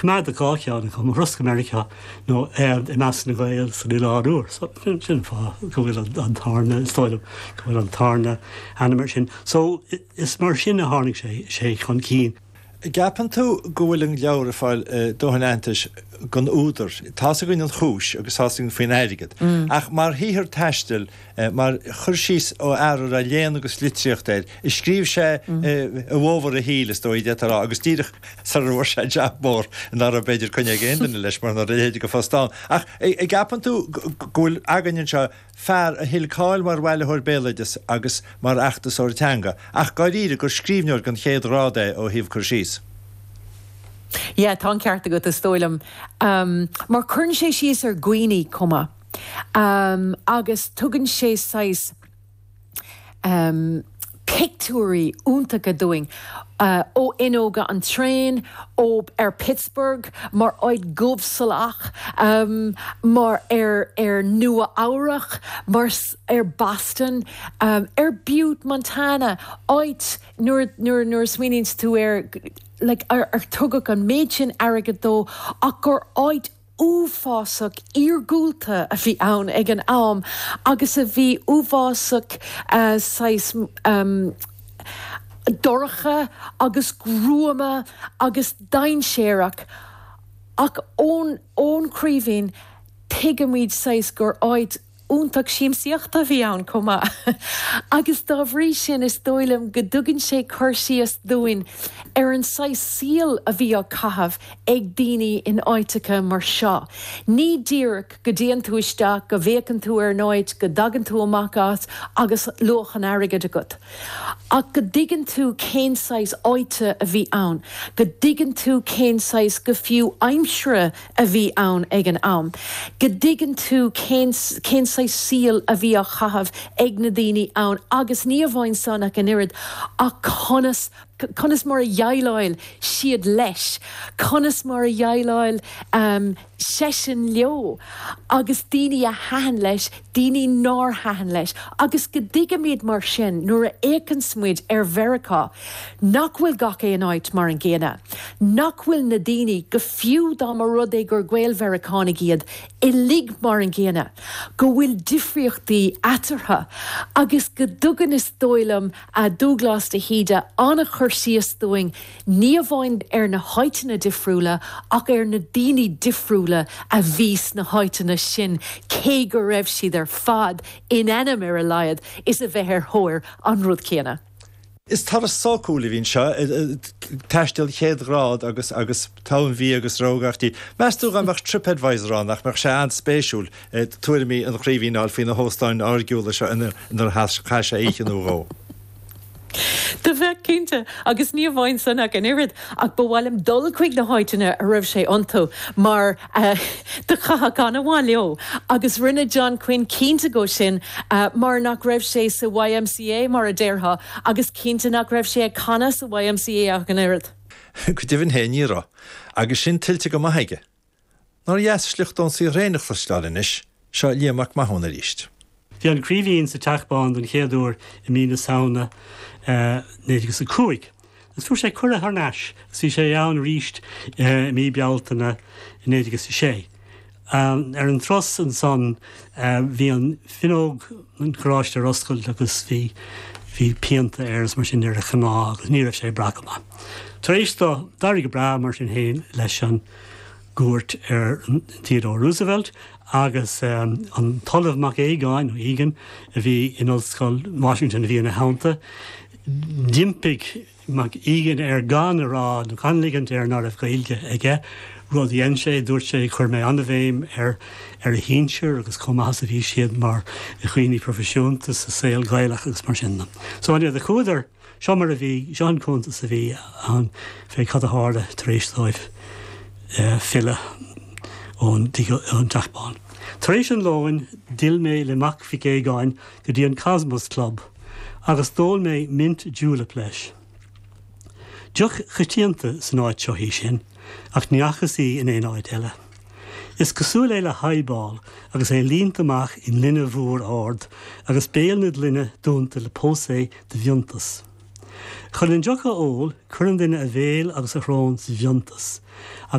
Coimeádadh 2 cheann acu, Mo Thuras go Meiriceá nó I Measc na nGael san Oileán Úr. So sin an fáth go bhfuil an tarna, is dóigh liom, go bhfuil an tarna ainm air sin. So is mar sin a tháinig sé sé chun cinn. An gceapann tú go bhfuil an leabhar ag fáil dóthain aitheantais don údar? Tá's againn an chúis agus tá's againn faoin airgead. Ach mar shaothar taistil, mar chur síos ó fhear a raibh léann agus litríocht air, a scríobh sé i bhfómhar a shaoil, is dóigh, d'fhéadfá a rá, agus díreach sara bhfuair sé jab mór nach raibh b'fhéidir coinne ag aon duine leis mar nach raibh a leithéid de phost ann. Ach an gceapann tú go bhfuil againn anseo fear a thuill cáil mar bhailitheoir béaloideas agus mar fheachtasóir teanga, ach dáiríre gur scríbhneoir den chéad ghrád é ó thaobh cur síos. Yeah, tá an ceart agat, is dóigh liom. Mar cuireann sé síos ar dhaoine chomh maith. Agus tugann sé saghas. pictiúirí iontacha dúinn ó fhuinneoga an traein, ó ar Pittsburgh mar áit dhubhsalach, mar ar ar Nua Eabhrach, mar ar Boston, ar Butte, Montana, áit nuair nuair nuair a smaoiníonns tú air like ar ar tugadh an méid sin airgid dó ach gur áit uafásach iargúlta a bhí ann ag an am agus a bhí uafásach saghas dorcha agus gruama agus dainséarach ach ón ón Chraoibhín tuigimid saghas gur áit iontach siamsaíochta a bhí ann chomh maith agus dá bhrí sin is dóigh liom go dtugann sé cur síos dúinn ar an saghas saoil a bhí á caitheamh ag daoine in áiteacha mar seo. Ní díreach go dtéann tú isteach, go bhféachann tú ar an áit, go dtagann tú amach as agus luach an airgid agat. Ach go dtuigeann tú cén saghas áite a bhí ann, go dtuigeann tú cén saghas, go fiú, aimsire a bhí ann ag an am, go dtuigeann tú cén cén saghas saoil a bhí á chaitheamh ag na daoine ann agus ní amháin san ach an oiread ach conas conas mar a dhéileáil siad leis, conas mar a dhéileáil seisean leo agus daoine a thaitin leis, daoine nár thaitin leis agus go dtuigimid mar sin nuair a fhéachanns muid ar Mheiriceá nach bhfuil gach aon áit mar an gcéanna, nach bhfuil na daoine, go fiú dá mba rud é gur Gael-Mheiriceánaigh iad, uilig mar an gcéanna, go bhfuil difríochtaí eatarthu agus go dtugann, is dóigh liom, Dúghlás de hÍde an-chur síos dúinn ní amháin ar na háiteanna difriúla ach ar na daoine difriúla a bhí sna háiteanna sin cé go raibh siad ar fad, in ainm ar a laghad, is a bheith ar thóir an rud céanna. Is turas sócúil a bhí anseo, taisteal chéad ghrád agus agus togha an bhia agus rogha gach ní. Meas tú dá mbeadh TripAdvisor ann nach mbeadh sé an-spéisiúil tuairimí an Chraoibhín a fháil faoi na hóstáin áirgiúla seo inar chaith sé oíche nó dhó? Do bheadh, cinnte, agus ní amháin san ach an oiread, ach ba mhaith liom dul chuig na háiteanna a raibh sé iontu mar do chaithfeadh an-mhaith leo. Agus rinne John Quinn cinnte dhó sin mar nach raibh sé sa YMCA, mar a déarfá, agus cinnte nach raibh sé ag canadh sa YMCA ach an oiread. Go deimhin féin ní raibh, agus sin tuillte go maith aige. Nár dheas sliocht ón saothar féin a chloisteáil anois, seo Liam Mac Mathúna arís. Bhí an Craoibhín sa Teach Bán don chéad uair i mí na Samhna 1905 agus fuair sé cuireadh thar n-ais agus bhí sé ann arís i mí Bealtaine 1906. Ar an turas ansan bhí an fhuinneog an charráiste ar oscailt agus bhí bhí pianta air is mar sin ar a chneá agus ní raibh sé ag brath go maith. Tar éis dó, d'éirigh go breá mar sin féin leis an gcuairt ar Theodore Roosevelt agus an tOllamh Mac Aogáin, nó Egan, a bhí in Ollscoil Washington a bhí ina theannta. D'impigh Mac Egan air gan a rá nó gan ligint air ná raibh Gaeilge aige, rud a dhein sé. Dúirt sé, Chuir mé an-bhéim ar ar a shinsir agus chomh maith is a bhí siad mar dhaoine proifisiúnta sa saol Gaelach agus mar sin de. So anyway, do chuadar. Seo mar a bhí, seo an cuntas a bhí ann fé cad a tharla tar éis dóibh filleadh ón dTeach Bán. Tar éis an lóin d'fhill mé le Mac Mhic Aogáin go dtí an Cosmos Club agus d'ól mé mint julep leis. Deoch choitianta san áit seo í sin, ach ní fhacthas í in aon áit eile. Is cosúil é le highball agus é líonta amach i ngloine mhór ard agus béal na gloine dúnta le pósae de mhiontas. Chun an deoch a ól, cuireann duine a bhéal agus a shrón sa mhiontas.